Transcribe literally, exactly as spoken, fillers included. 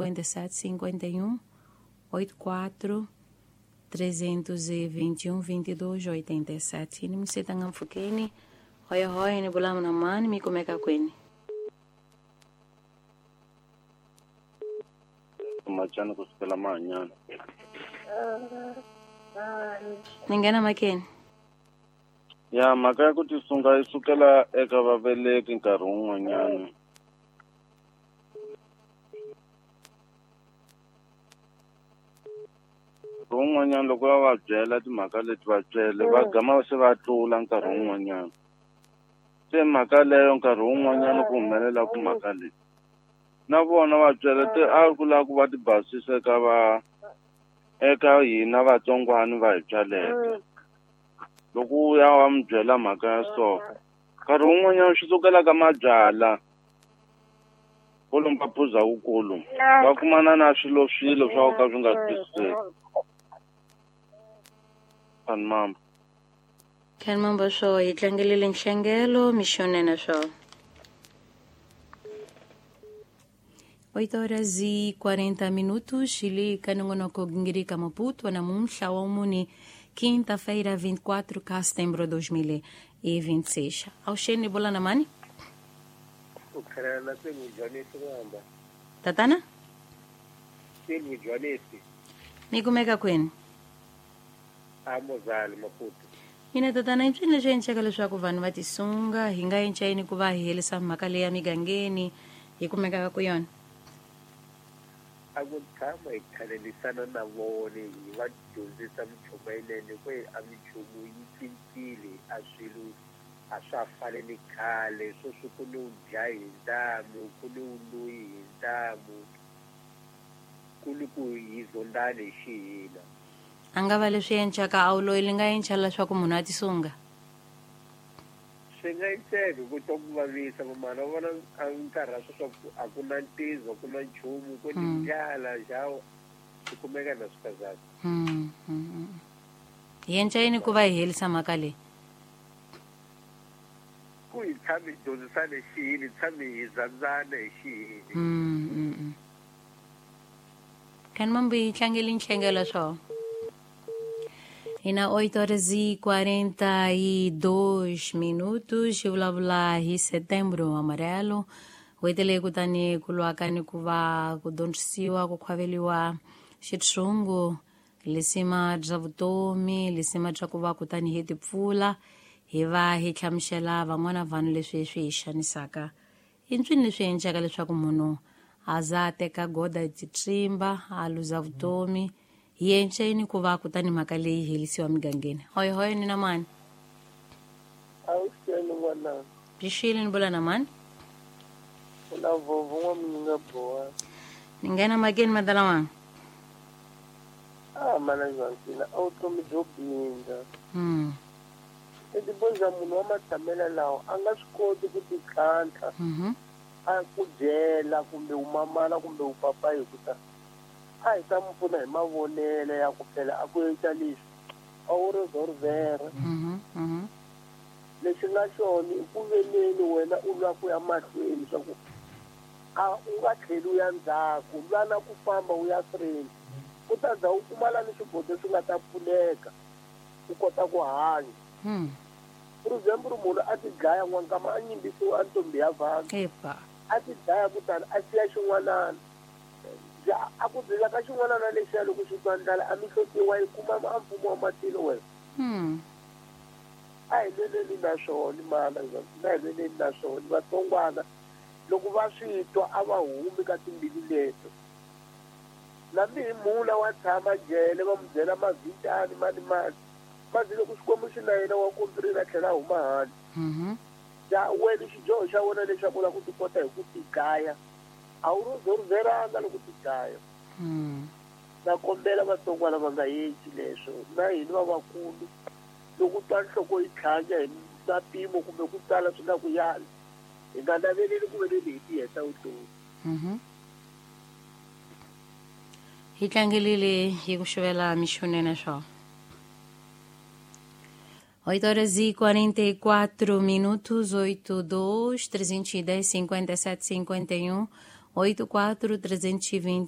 cinquenta e sete cinquenta e um oito quatro trezentos e vinte e um vinte e dois oitenta e sete. Ni msetanga mfukeni hoya hoya ni bulamu na mani mikumeka kweni. Machana kusukela manyana. Ningena makeni. Ya mhaka ya ku tisunga yi sukela eka vaveleki nkarhi wun'wanyana. Nkarhi wun'wanyana loko va va byela timhaka leti va byele va gama se va tlula nkarhi wun'wanyana. Se mhaka leyo nkarhi wun'wanyana ku humelela ku mhaka leyi. Na vona va byela ti a ku lava ku va ti basisa eka va eka hina vatsongwana va hi byaleke. Loko u ya wa mi byela mhaka ya so nkarhi wun'wanyana swi sukela ka mabyala kwalomu ka phuza wukulu va kumana na swilo swilo swa ka swi nga twisiseki. Khan mambo Khan mambo swo hi tlangelile nhlengelo mixonene swo. oito horas e quarenta minutos, Chile kanongonoko gingirika Maputo namuntlha wa muni quinta-feira vinte e quatro de setembro de dois mil e vinte e seis. Auxeni bola na mani? Tatana? Mikumeka kweni? Amozali Maputo. Ina tatana i mpfini leswi endlaka leswaku vanhu va tisunga hi nga encayini ku va hi herisa mhaka leyi ya migangeni hi kumekaka ku yona? A ku tshama hi khalelisana na vona hi va dyondzisa minchumu yinene ku a minchumu yi cincile a swilo a swa fani ni khale sweswi ku ni u dlaya hi ntamu ku ni u loyi hi ntamu ku ni ku hi zondani hi xihina. A nga va leswi encaka a wu loyi li nga enca leswaku munhu a tisunga? Swi nga enceka ku twa ku vavisa vamana va vona a nkarhi wa sweswi a ku na ntizo a ku na nchumu ku ni ndlala xawu swi kumeka na swikazana. Hi enca yini ku va hi herisa mhaka leyi? Ku hi tshame hi dyondzisana hi xiyini hi tshame hi zandzana hi xiyini. Khan mambo hi tlangeli nhlengelo swo. E na oito horas e quarenta e dois minutos, vulavula hi Setembro Amarelo. N'hweti leyi kutani ku lwaka ni ku va ku dyondzisiwa ku khwaveriwa xitshungu lisima bya vutomi lisima bya ku va kutani hi tipfula hi va hi hlamusela van'wana vanhu leswi swi hi xanisaka. I ntswini leswi endlaka leswaku munhu a za a teka goda hi titsimba a luza vutomi. Hi enceni ku va kutani mhaka leyi herisiwa migangeni. Hoy hoy ni na mani? Awuxeni n'wana. Byi ni bula na mani? U na vovo n'wamunyinga boha. Ni nghena makeni madala wanga. Ah mana Joaquina, a vutomi byo bindza. Mm. I tiboza munhu wa matshamelo lawa a nga swi koti ku titlhantlha. Mhm. A ku byela kumbe u mamana kumbe u papa hi ku ta a hi ta mi pfuna hi mavonelo ya ku phela a ku endla leswi a wu ri zorvera. Lexi nga xona i ku veneni wena u lwa ku ya mahlweni swa ku a u nga tlheli u ya ndzhaku lwa na ku famba u ya freni u ta za u kumala ni swigodo swi nga ta pfuneka u kota ku hanya. For example munhu a ti dlaya n'wankama a nyimbisiwa a ntombi ya vanhu a ti dlaya kutani a siya xin'wanana. A ku byela ka xin'wana na lexiya loko xi twa ndlala a mi hlotiwa yi kuma a mfumo wa matilo wena. A hi lweleni na swona mana na hi lweleni na swona vatsongwana loko va swi twa a va humi ka timbilu leto. Nambi hi mula wa tshama jele va mu byela mavhitani mani mani mazi loko Xikwembu xi na yena wa kombirile a tlhela a huma handle. Ya wena xidyoho xa wena lexaku u lava ku ti kota hi ku tidlaya a wu ri zorveranga loko ti dlaya. Na kombela vatsongwana va nga endli leswo na hina vavakulu loko twa nhloko yi tlhanya hi na mpimo kumbe ku tala swi nga ku yali hi nga naveleli ku veleni hi ti heta vutomi. Hi tlangelile hi ku xuvela mixonene swo. oito horas e quarenta e quatro minutos, oito, dois, trezentos e dez, cinquenta e sete, cinquenta e um, oito, quatro, trezentos e vinte